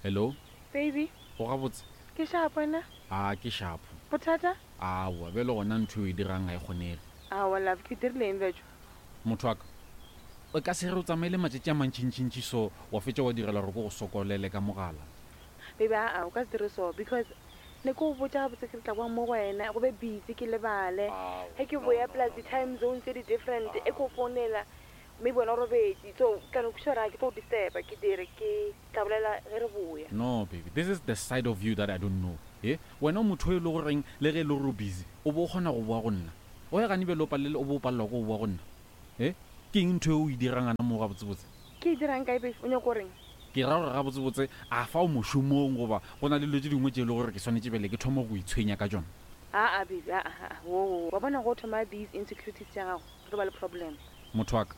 Hello. Baby. O gabotse? Ke shapo wena? A ke shapo. Bothata? Aowa, bjale gona ntho e o e dirang ga e kgonege. Aowa love, ke dirile eng bjatšo? Motho wa ka, o ka se re o tsamaile matšatši a mantšintšintši so wa fetša wa direla gore ke go sokolele ka mogala. Baby, aa, o ka se dire so because ne ke go botša gabotse ke re tla kwa mo go wena go be busy ke lebale. Ge ke boya plus di-time zone tse di different e ke go founela maybe wena o robetše so ke tla no kwešiša gore ga ke tlo go disturba ke dire ke tla bolela ge re boya. No baby, this is the side of you that I don't know. He, wena o motho o e le goreng le ge e le gore o busy o bo o kgona go boa go nna. O ya gane bjale o palele o bo o palelwa ke go boa go nna. He, ke eng ntho e o e dirang gana moo gabotsebotse? Ke e dirang kae babe? O nyaka go reng? Ke ra gore gabotsebotse a fa o mošomong goba go na le dilo tše dingwe tše e le gore ke swanetše bjale ke thome go itshwenya ka tšona? Aa babe, aa, aa, woo, wa bona ge o thoma these insecurities tša gago, re tlo ba le problem. Motho wa ka,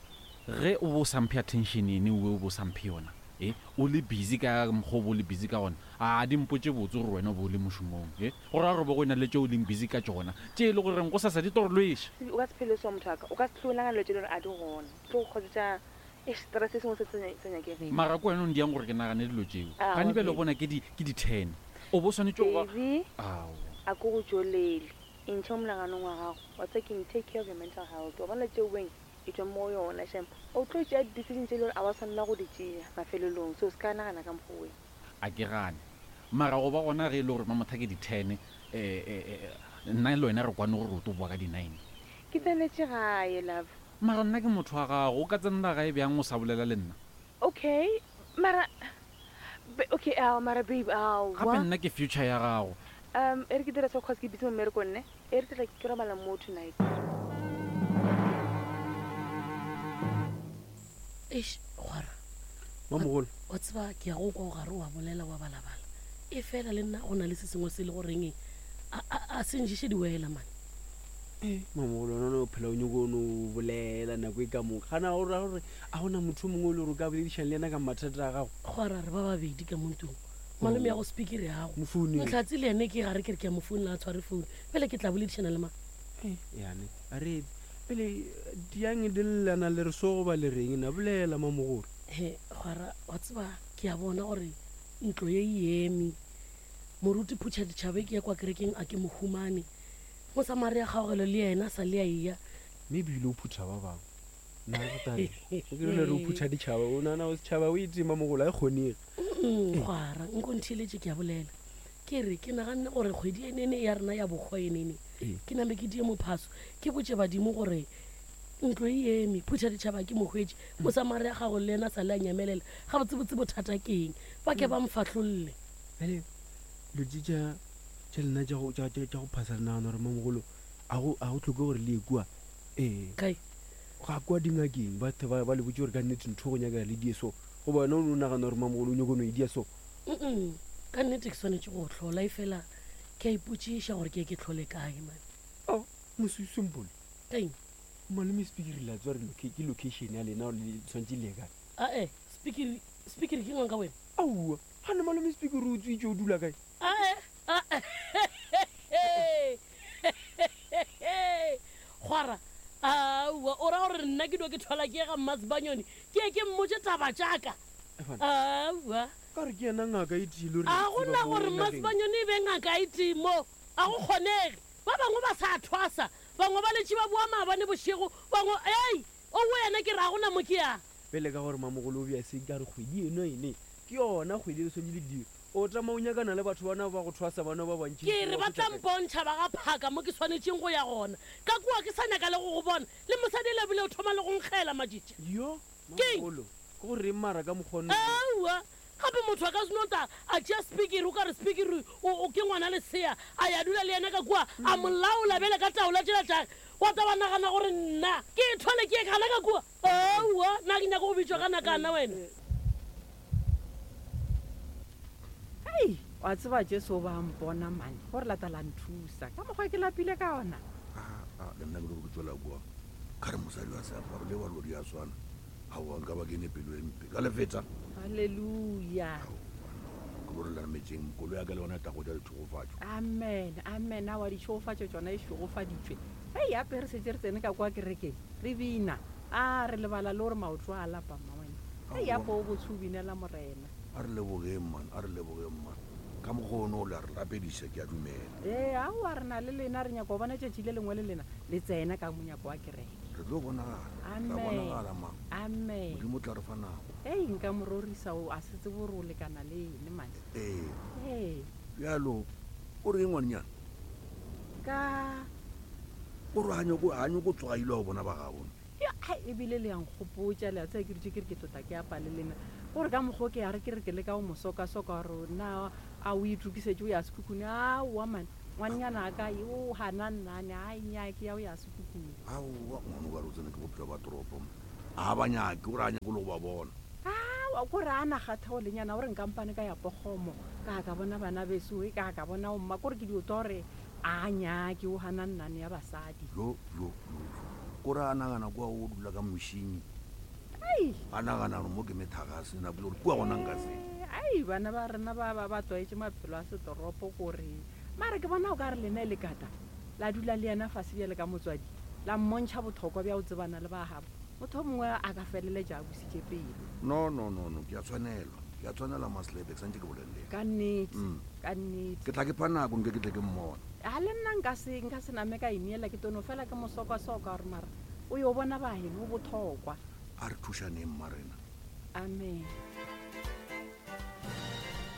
ge o be o sa mphe attention ene owe o be o sa mphe yona, e, o le busy ka mokgwa o be o le busy ka gona, a di mpotše botse gore wena o be o le mošomong, e, go ra gore be go e na le tše o leng busy ka tšona, tše e le goreng gosasa di tlo re lweša. O ka se phele so motho wa ka, o ka se hlwe o nagana dilo tše e le gore a di gona, di tlo go causetša, eish, stress se sengwe se se sa nyakegeng. Mara ke wena o ndiyang gore ke nagane dilo tšeo. Gane bjale o bona ke di, ke di ten. O be o swanetše go ba. Baby, Aowa. a ke go tšolele. E ntšhe mo monaganong wa gago. Wa tseba keng? Take care of your mental health. Wa bona tšeo weng e tšwa mo go yona shem. O tlo tšea di-decision tše e le gore a wa swanela go di tšea mafelelong. So se ka nagana ka mokgwa weo. A ke gane. Mara go ba gona ge e le gore Mamotha ke di-ten, nna le wena re kwane gore o tlo boa ka di-nine. Ke tsenetše gae, love. Mara nna ke motho wa gago. O ka tsenela gae bjang o sa bolela le nna? Okay, mara okay, aowa mara babe, aowa. Gape nna ke future ya gago. Um, e re ke dire so cause ke busy mo mmerekong ne. E re ke tla ke robala mo tonight. Eish, kgwara. Mamogolo. Wa tseba ke ya go kwa o gare wa bolela wa balabala. E fela le nna go na le se sengwe se le goreng a a se nješe diwela mane. Eh, mamogolo wena o phela o nyoko o no bolela nako e ka moka. Gana o ra gore a gona motho o mongwe o le gore o ka boledišana le yena ka mathata a gago. Kgwara re ba babedi ka mo ntlong. Malome ya go speaker ya gago. Mo founele. Mohlatse le yene ke gare ke re ke a mo founela a tshware phone. Bjale ke tla boledišana le mang? Eh, yane a re pele diang di llena le re so goba le reng na bolela mamogolo. He, kgwara wa tseba ke a bona gore ntlo ye e eme. Moruti Phutha Ditšhabe ke ya kwa kerekeng a ke mo humane. Mosamaria Kgaogelo le yena sa le a eya. Mme ebile o phutha ba bangwe. Nna re tla re, o ke rile re o phutha ditšhaba, o nagana gore setšhaba o e tema mogolo, ga e kgonege. Kgwara, nko ntheeletše ke a bolela. Ke re, ke naganne gore kgwedi enene ya rena ya bohwa enene, ke name ke die mophaso, ke botše badimo gore ntlo e eme, phutha ditšhaba ke mo hwetše, Mosamaria Kgaogelo le yena sa le a nyamelela. Gabotsebotse bothata ke eng? Ba ke ba mfahlolle. Bjale dilo tše tša tša lena tša go tša tša go phasa le nagana gore mamogolo a go a go tlhoke gore le ye kua ee Kae? Ga kwa dingakeng ba the ba ba le botše gore ka nnete ntho go nyakega le die so goba wena o no nagana gore mamogolo o nyako no e dia so. Mm ka nnete ke swanetše go hlola efela ke a ipotšiša gore ke ye ke hlole kae man. Oh mosu simple. Eng? Malome Spikiri la tseba re ke location ya lena gore le tshwanetše le ye kae. Ae Spikiri Spikiri ke nganga wena? Aowa gane malome Spikiri o tswitše o dula kae? Ae ae Kgwara, Aowa, o ra gore nna ke no ke thwala ke ye ga Mmasebanyoni ke ye ke mmotše taba tša ka? Aowa. Ka gore ke yena ngaka e tee le re A go na gore Mmasebanyoni e be ngaka e tee mo, a go kgonege. Ba bangwe ba sa thwasa, bangwe ba letše ba boa maabane bošego, bangwe, ei, owe yena ke re a go na mo ke yang. Bjale ka gore Mamogolo o bea se ka re kgwedi eno ene ke yona kgwedi e le swanetše le dire. O tama o nyakana le batho bana ba go thwasa bana ba bantši. Ke re ba tla mpontšha ba ga phaka mo ke swanetšeng go ya gona. Ka kua ke sa nyaka le go go bona. Le mosadi ele bile o thoma le go nkgela matšitši. Yo, Keng? Mamogolo, ke go reng mara ka mokgwa ono? Aowa, gape motho a ka se no ta a tšea spikiri, o ka re spikiri o, o ke ngwana lesea, a ya dula le yena ka kua, a mo laola bjale ka taola tšela tšage. Wa ta wa nagana gore nna ke e thwale ke ye gana ka kua? Aowa, na ke nyaka go bitšwa ka nakana wena? Hei, wa tseba Jesu o ba mpona mane, gore lata la nthusa ka mokgwa ke lapile ka ona. Aa, le nna ke lo ke tswela kua, ka re mosadi wa seaparo le wa lodi a swana. Aowa, nka ba ke ne pelo e mpe ka lefeta. Haleluya. Aowa, no, ke lo re nametšeng, koloi ya ka le yona e tla go ja ditšhegofatšo. Amen, amen. Aowa, ditšhegofatšo tšona e šegofaditšwe. Hei, ape re šetše re tsene ka kua kerekeng, re bina. A re lebala le gore maoto a lapa, mmawena. Ei apo o botse o binela Morena. A re lebogeng man, a re lebogeng man. Ka mokgwa ono o le a re rapediša, ke a dumela. Ee, aowa re na le lena, re nyaka go bona tšatši le lengwe le lena le tsena ka monyako wa kereke. Re tlo bonagala. Re tla Amen. bonagala ma. Amen. Modimo o tla re fa nako. Ei, nka mo rorisa o a se tsebe gore o lekana le ene man. Ee. Ee. Bjalo, o reng ngwanenyana? Ka. O re ga nyako, ga nyako tsoga ile wa bona ba gabo. Ya, ai, ebile le ya nkgopotša, le a tseba ke dutše ke re ke tlotla ke apa le lena. Gore ka mokgwa o ke ya re ke re ke leka go mo sokasoka gore na a o itokisetše o ya sekhukhune. Aowa man, ngwanenyana a ka o gana nnane, ai nyaa ke ya o ya sekhukhune. Aowa, ngwana o ka re o tsene ke bophelo ba toropo mo. A ba nyake, o re a nyake le go ba bona. Aowa, kore a na kgathego lenyana, o re nkampane ka ya Pogomo, ka ka bona bana beso, e ka ka bona omma, kore ke dio twa gore a nyake, o gana nnane ya basadi. Jo, jo, jo, jo. Kore a nagana kua o dula ka mošing. Ai. A nagana gore mo ke methagase, nako le gore kua gona nka se. Ai, bana ba rena ba, ba, ba tlwaetše maphelo a setoropo kore. Mara ke bona o ka re lena e le kata, la dula le yena fase bjale ka motswadi, la mmontšha bothokwa bja go tsebana le ba gabo. Motho o mongwe a ka feleletša a busitše pelo. No, no, no, no, ke a tshwanelwa. Ke a tshwanelwa, Maslepe, ke santše ke bolele le yena. Ka nnete, Mm. ka nnete. Ke tla ke pha nako nke ke tle ke mmone. A le nna nka se, nka se name ka ineela, ke tono fela ke mo sokasoka gore mara o yo bona ba geno o bothokwa. A re thušaneng, mmarena. Amen.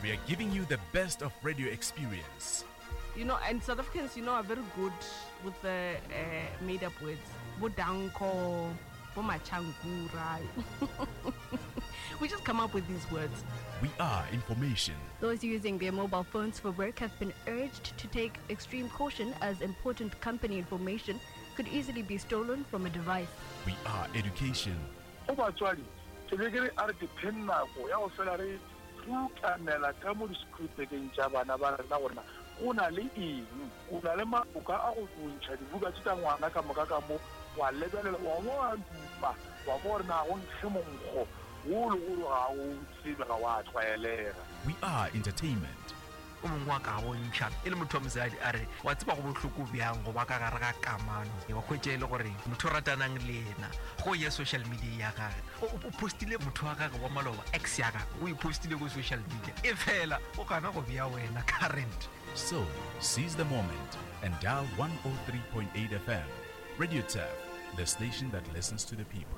We are giving you the best of radio experience. You know, and South Africans, you know, are very good with the uh, made up words. Bo danko, bo machangura. We just come up with these words. We are information. Those using their mobile phones for work have been urged to take extreme caution as important company information could easily be stolen from a device. We are education. Go batswadi, ke be ke re a re dipheng nako ya go fela re rutamela ka mo disekripekeng tša bana ba rena gore na go na le eng. O na le maboka a go ntšha dibuka tše tša ngwana ka moka ka mo, wa lebelela, wa bo wa dupa, wa kwa gore na go nkge monkgo wo le gore ga o tsebe, ga wa tlwaelega. We are entertainment. O mongwe wa ka bontšha e le motho wa mosadi a re, Wa tseba go bohloko bjang go ba ka gare ga kamano wa hwetša e le gore motho o ratanang le yena go ya social media ya gage o o postile motho wa gage wa maloba ex ya gage o e postile ko social media e fela o gana go bea wena current. So, seize the moment and dial 103.8 FM. Radio Turf, the station that listens to the people.